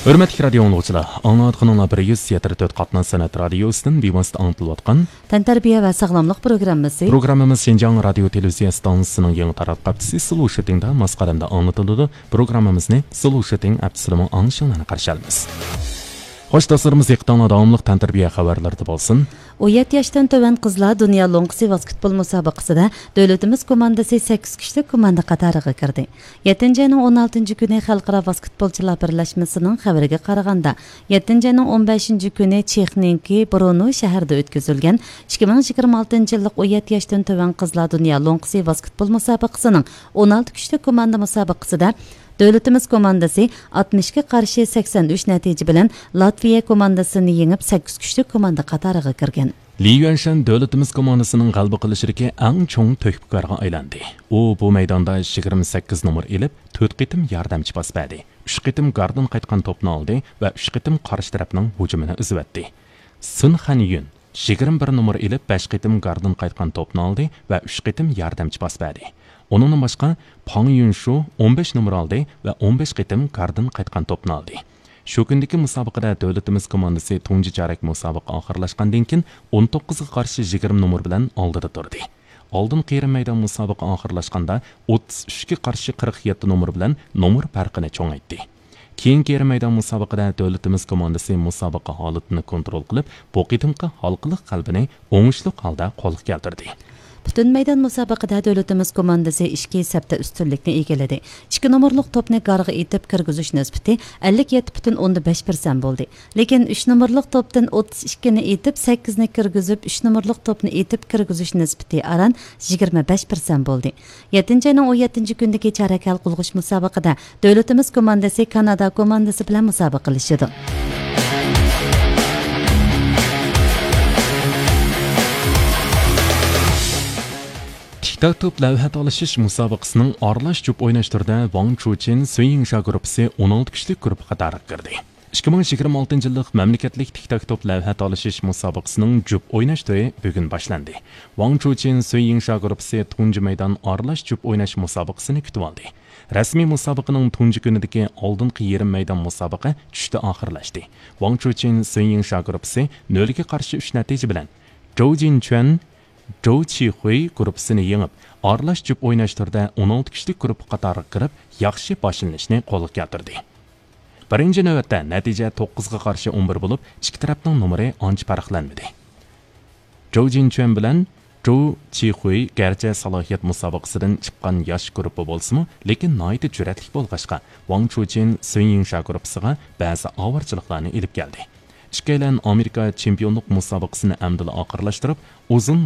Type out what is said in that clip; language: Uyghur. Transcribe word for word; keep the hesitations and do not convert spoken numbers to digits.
ھۆرمەتلىك رادىيو ئاڭلىغۇچىلار، ئاڭلاۋاتقىنىڭلار بىر يۈز يەتتە تۆت قاتناش سەنئەت رادىيوسىدىن بىۋاسىتە ئاڭلىتىلىۋاتقان تەنتەربىيە ۋە ساغلاملىق پروگراممىسى. پروگراممىمىز شىنجاڭ رادىيو تېلېۋىزىيە ئىستانسىسىنىڭ يېڭى تاراتقۇ ھەپتىسى سلوشىتىڭدا ماس قەدەمدە ئاڭلىتىلىدۇ. پروگراممىمىزنى سلوشىتىڭ ھەپتىسىدىمۇ ئاڭلىشىڭلارنى قارشى ئالىمىز. خوش، دوستلىرىمىز، دىققىتىڭلار داۋاملىق تەنتەربىيە خەۋەرلىرىدە بولسۇن. ئون يەتتە ياشتىن تۆۋەن قىزلار دۇنيا لوڭقىسى ۋاسكېتبول مۇسابىقىسىدە دۆلىتىمىز كوماندىسى سەككىز كۈچلۈك كوماندا قاتارىغا كىردى. يەتتىنچى ئاينىڭ ئون ئالتىنچى كۈنى خەلقئارا ۋاسكېتبولچىلار بىرلەشمىسىنىڭ خەۋىرىگە قارىغاندا، يەتتىنچى ئاينىڭ ئون بەشىنچى كۈنى چېخنىڭكى برونو شەھىرىدە ئۆتكۈزۈلگەن ئىككى مىڭ يىگىرمە ئالتىنچى يىللىق ئون يەتتە ياشتىن تۆۋەن قىزلار دۇنيا لوڭقىسى ۋاسكېتبول مۇسابىقىسىنىڭ ئون ئالتە كۈچلۈك كوماندا مۇسابىقىسىدە دۆلىتىمىز كوماندىسى ئاتمىش ئىككى قارشى سەكسەن ئۈچ نەتىجە بىلەن لاتۋىيە كوماندىسىنى يېڭىپ، سەككىز كۈچلۈك كوماندا قاتارىغا كىرگەن. لى يۈەنشەن دۆلىتىمىز كوماندىسىنىڭ غەلىبە قىلىشىدىكى ئەڭ چوڭ تۆھپىكارغا ئايلاندى. ئۇ بۇ مەيداندا يىگىرمە سەككىز نومۇر ئېلىپ، تۆت قېتىم ياردەمچى پاس بەردى، ئۈچ قېتىم گاردىن قايتقان توپنى ئالدى ۋە ئۈچ قېتىم قارشى تەرەپنىڭ ھۇجۇمىنى ئۈزۈۋەتتى. سىن خەن يۈن يىگىرمە بىر نومۇر ئېلىپ، بەش قېتىم گاردىن قايتقان توپنى ئالدى ۋە ئۈچ قېتىم ياردەمچى پاس بەردى. ئۇنىڭدىن باشقا، پاڭ يۈنشۇ ئون بەش نومۇر ئالدى ۋە ئون بەش قېتىم گاردىن قايتقان توپنى ئالدى. شۇ كۈندىكى مۇسابىقىدە دۆلىتىمىز كوماندىسى تۇنجى چارەك مۇسابىقە ئاخىرلاشقاندىن كېيىن ئون توققۇزغا قارشى يىگىرمە نومۇر بىلەن ئالدىدا تۇردى. ئالدىنقى يېرىم مەيدان مۇسابىقە ئاخىرلاشقاندا ئوتتۇز ئۈچكە قارشى قىرىق يەتتە نومۇر بىلەن نومۇر پەرقىنى چوڭايتتى. كېيىنكى يېرىم مەيدان مۇسابىقىدە دۆلىتىمىز كوماندىسى مۇسابىقە ھالىتىنى كونترول قىلىپ، بۇ قېتىمقى ھالقىلىق غەلىبىنى ئوڭۇشلۇق ھالدا قولغا كەلتۈردى. پۈتۈن مەيدان مۇسابىقىدە دۆلىتىمىز كوماندىسى ئىككى سەپتە ئۈستۈنلۈكنى ئىگىلىدى. ئىككى نومۇرلۇق توپنى گارغا ئېتىپ كىرگۈزۈش نىسبىتى ئەللىك يەتتە پۈتۈن ئوندىن بەش پىرسەنت بولدى. لېكىن ئۈچ نومۇرلۇق توپتىن ئوتتۇز ئىككىنى ئېتىپ، سەككىزنى كىرگۈزۈپ، ئۈچ نومۇرلۇق توپنى ئېتىپ كىرگۈزۈش نىسبىتى ئاران يىگىرمە بەش پىرسەنت بولدى. يەتتىنچى ئاينىڭ ئون يەتتىنچى كۈنىدىكى چارەك ھەل قىلغۇچ مۇسابىقىدە دۆلىتىمىز كوماندىسى كانادا كوماندىسى بىلەن مۇسابىقىلىشىدۇ. تىك تاك توپ لەۋھە تالىشىش مۇسابىقىسىنىڭ ئارىلاش جۈپ ئويناش تۈرىدە ۋاڭ چۇچىن سۈن يىڭشا گۇرۇپپىسى ئون ئالتە كۈچلۈك گۇرۇپپا قاتارىغا كىردى. ئىككى مىڭ يىگىرمە ئالتىنچى يىللىق مەملىكەتلىك تىك تاك توپ لەۋھە تالىشىش مۇسابىقىسىنىڭ جۈپ ئويناش تۈرى بۈگۈن باشلاندى. ۋاڭ چۇچىن سۈن يىڭشا گۇرۇپپىسى تۇنجى مەيدان ئارىلاش جۈپ ئويناش مۇسابىقىسىنى كۈتۈۋالدى. رەسمىي مۇسابىقىنىڭ تۇنجى كۈنىدىكى ئالدىنقى يېرىم مەيدان مۇسابىقە چۈشتە ئاخىرلاشتى. ۋاڭ چۇچىن سۈن يىڭشا گۇرۇپپىسى نۆلگە قارشى ئۈچ نەتىجە بىلەن جوۋ جىنچۈەن، جوۋ چىخۇي گۇرۇپپىسىنى يېڭىپ، ئارىلاش جۈپ ئويناش تۈرىدە ئون ئالتە كۈچلۈك گۇرۇپپا قاتارىغا كىرىپ، ياخشى باشلىنىشنى قولغا كەلتۈردى. بىرىنچى نۆۋەتتە نەتىجە توققۇزغا قارشى ئون بىر بولۇپ، ئىككى تەرەپنىڭ نومۇرى ئانچە پەرقلەنمىدى. جوۋ جىنچۈەن بىلەن جوۋ چىخۇي گەرچە سالاھىيەت مۇسابىقىسىدىن چىققان ياش گۇرۇپپا بولسىمۇ، لېكىن ناھايىتى جۈرئەتلىك بولغاچقا، ۋاڭ چۇچىن سۈن يىڭشا گۇرۇپپىسىغا بەزى ئاۋارىچىلىقلارنى ئېلىپ كەلدى. ئىككىيلەن ئامېرىكا چېمپىيونلۇق مۇسابىقىسىنى ئەمدىلا ئاخىرلاشتۇرۇپ، ئۇزۇن